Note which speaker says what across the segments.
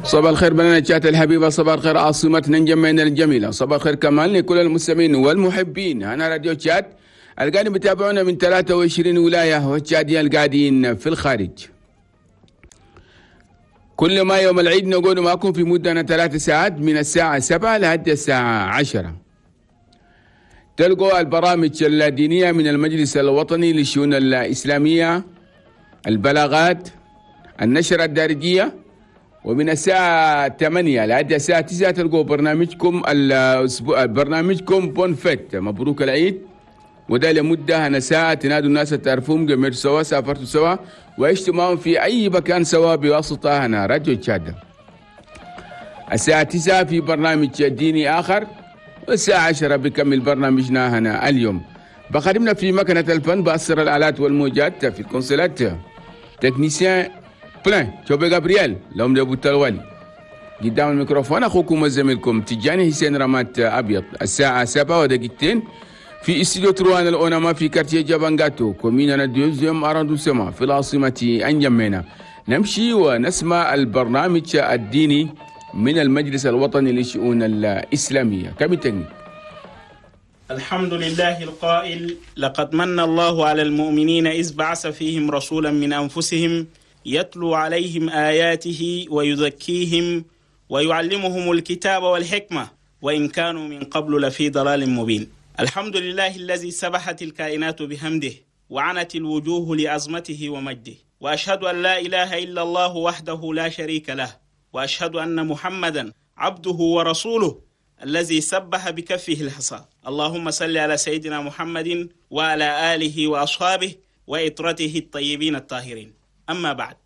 Speaker 1: صباح الخير بلدنا تشاد الحبيبة، صباح الخير عاصمتنا انجمينا الجميلة، صباح الخير كمان لكل المستمعين والمحبين هنا راديو تشاد القاعدين بتابعونا من 23 ولاية والتشادية القاعدين في الخارج. كل ما يوم العيد نقول معكم في مدة 3 ساعات من الساعة 7 لحد الساعة 10. تلقوا البرامج الدينية من المجلس الوطني للشؤون الإسلامية، البلاغات، النشرة الدارجية. ومن الساعة 8 لحد الساعة 9 تلقوا برنامجكم الأسبوع، برنامجكم bonne fête، مبروك العيد. وده لمدة هنا ساعة تنادوا الناس تعرفوهم، قمرتوا سوا، سافرتوا سوا، وعشتوا معهم في أي مكان سوا بواسطة هنا راديو تشاد. الساعة 9 في برنامج ديني آخر، والساعة 10 بكمل برنامجنا هنا اليوم. بخدمنا في مكنة الفن، بأسر الآلات والموجات، في الكونسولات، technicien plein توبي جابرييل لهم لابو التلوالي. قدام الميكروفون أخوكم وزميلكم تجاني حسين رمات أبيض. الساعة 7 ودقيقتين في استوديو trois الأونما في quartier جابانجاتو، commune deuxième arrondissement، في العاصمة أنجمينا. نمشي ونسمع البرنامج الديني من المجلس الوطني للشؤون الإسلامية. cabine technique.
Speaker 2: الحمد لله القائل: لقد من الله على المؤمنين إذ بعث فيهم رسولا من أنفسهم يتلو عليهم آياته ويزكيهم ويعلمهم الكتاب والحكمة وإن كانوا من قبل لفي ضلال مبين. الحمد لله الذي سبحت الكائنات بحمده وعنت الوجوه لعظمته ومجده، وأشهد أن لا إله إلا الله وحده لا شريك له، وأشهد أن محمدا عبده ورسوله الذي سبح بكفه الحصى. اللهم صل على سيدنا محمد وعلى آله وأصحابه وعترته الطيبين الطاهرين. أما بعد،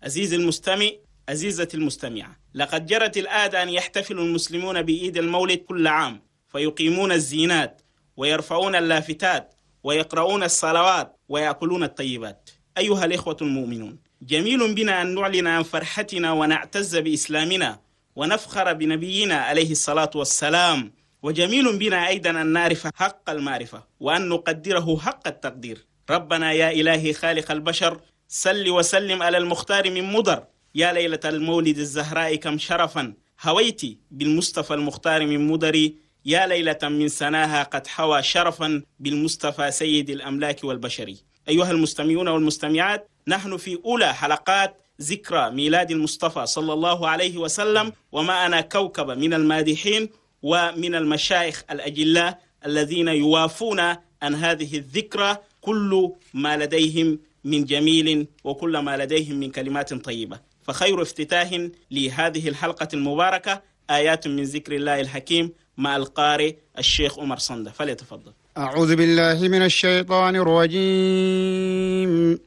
Speaker 2: عزيزي المستمع، عزيزتي المستمعة، لقد جرت العادة أن يحتفل المسلمون بعيد المولد كل عام، فيقيمون الزينات ويرفعون اللافتات ويقرؤون الصلوات ويأكلون الطيبات. أيها الإخوة المؤمنون، جميل بنا أن نعلن عن فرحتنا ونعتز بإسلامنا ونفخر بنبينا عليه الصلاة والسلام، وجميل بنا أيضا أن نعرف حق المعرفة وأن نقدره حق التقدير. ربنا يا إلهي خالق البشر، صل وسلم على المختار من مضر. يا ليلة المولد الزهراء كم شرفا هويت بالمصطفى المختار من مضر، يا ليلة من سناها قد حوى شرفا بالمصطفى سيد الأملاك والبشر. أيها المستمعون والمستمعات، نحن في أولى حلقات ذكرى ميلاد المصطفى صلى الله عليه وسلم، ومعنا كوكبة من المادحين ومن المشايخ الأجلاء الذين يوافون عن هذه الذكرى كل ما لديهم من جميل وكل ما لديهم من كلمات طيبة. فخير افتتاح لهذه الحلقة المباركة آيات من ذكر الله الحكيم مع القارئ الشيخ عمر صندة، فليتفضل.
Speaker 3: أعوذ بالله من الشيطان الرجيم.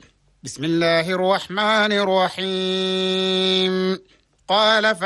Speaker 3: بسم الله الرحمن الرحيم. قال